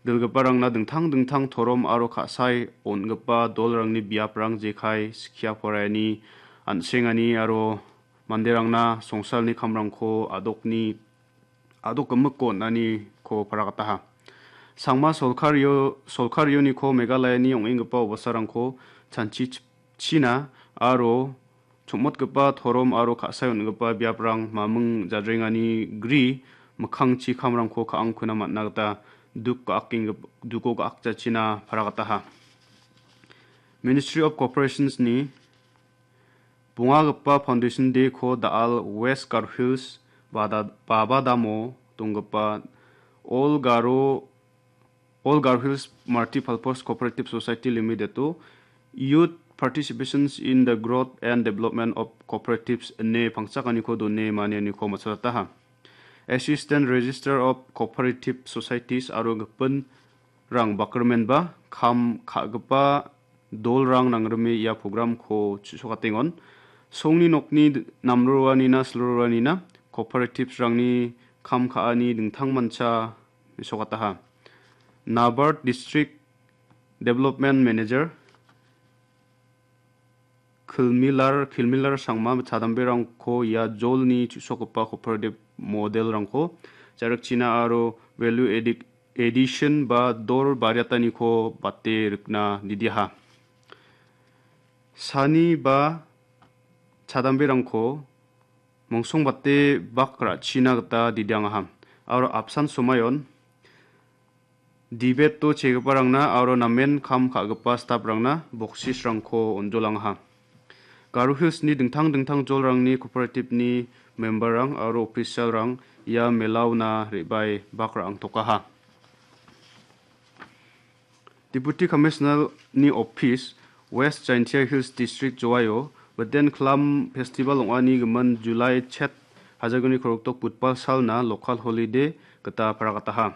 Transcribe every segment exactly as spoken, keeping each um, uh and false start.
dilgiparangna dingtang dingtang torom aro ka·sae on·gipa dolrangni biaprang jekai, skia poraiani, an·sengani aro manderangna songsalni kamrangko adokni, adok gimikko on·aniko paragataha. Sangma solkario-, solkarioniko Meghalayani ong·enggipa obasarangko chanchichipchina aro chomotgipa torom aro ka·sae on·gipa biaprang maming jadrengani gri mikkangchi kamrangko ka·angkuna man·a gita duk ga·akenggip-, duko ga·akjachina paragataha. Ministry of Corporationsni bongagipa Foundation Day-ko da·al West Garo Hills Bada-, Babadamo donggipa All Garo, All Garo Hills Multipurpose Cooperative Society Limited-o Youth Participations in the Growth and Development of Cooperatives ine pangchakaniko done manianiko matchotataha. Assistant Register of Cooperative Societies aro gipinrang bakrimenba kam ka·gipa dolrang nangrime ia programko chu·sokatengon. Songni nokni d-, namroanina, silroanina, cooperatives-rangni kam ka·ani dingtangmancha mesokataha. NABARD District Development Manager Kilmilar, Kilmilar Sangma chadamberangko ia jolni chu·sokgipa cooperative model-rangko ja·rikchina aro value addi-, addition ba dol bariataniko bate rikna didiaha. Sani ba chadamberangko mongsongbate bak ra·china gita didiangaha. Aro apsan somayon debate-o chegiparangna aro namen kam ka·gipa staff-rangna boksisrangko on·jolangaha. Garo Hills-ni dingtang dingtang jolrangni cooperative-ni member-rang aro official-rang ia melaona re·bae bak ra·angtokaha. Deputy Commissioner-ni office, West Jaintia Hills District, Jowai-o Biden Klam Festival ong·ani gimin July chet hajalgni korokdok Budbal salna local holiday gita paragataha.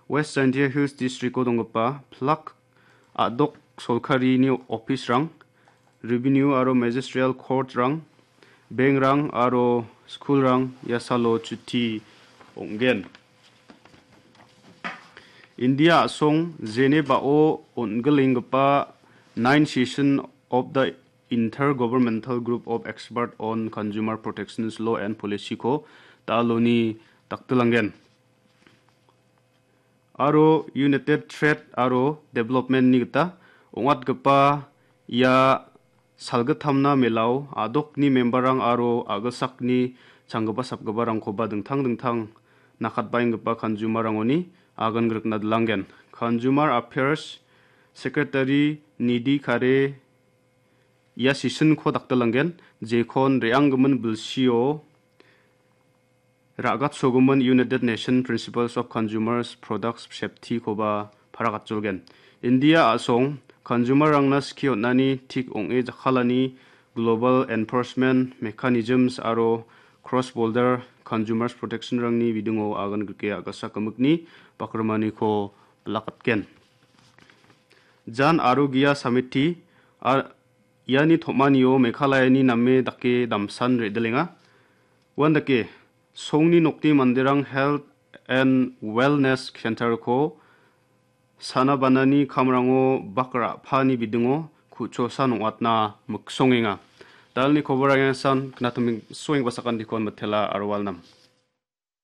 West Jaintia Hills District-o donggipa plak a·dok solkarini office-rang, Revenue aro Magisterial Court-rang, bank-rang aro school-rang ia salo chuti ong·gen. India a·song Geneva-o on·gilenggipa nine session of the Intergovernmental Group of Expert on Consumer Protections Law and Policy-ko da·aloni daktilangen. Aro United Trade aro Development-ni gita ong·atgipa ia salgittamna melao a·dokni member-rang aro a·gilsakni changgipa sapgiparangkoba dingtang dingtang nakatbaenggipa consumer-rangoni agan grikna dilanggen. Consumer Affairs Secretary Nidhi Khare ia session-ko daktilangen, jekon re·anggimin bilsio ra·gatsogimin United Nation Principles of Consumers Products Safety-koba paragatjolgen. India a·song consumer-rangna skie on·ani tik ong·e jakkalani Global Enforcement Mechanisms aro Cross Border Consumers Protection-rangni bidingo agan grike a·gasa gimikni bakrimaniko bilakatgen. Jan Arogya Samiti a-, iani tom·anio Meghalayani name dake damsan re·dilenga. Uandake, songni nokni manderang Health and Wellness Center-ko sana banani kamrango bak ra·pani bidingo ku·chosan ong·atna miksongenga. Dalni koborang san knatiming soengba sakandikon mitela aro walnam.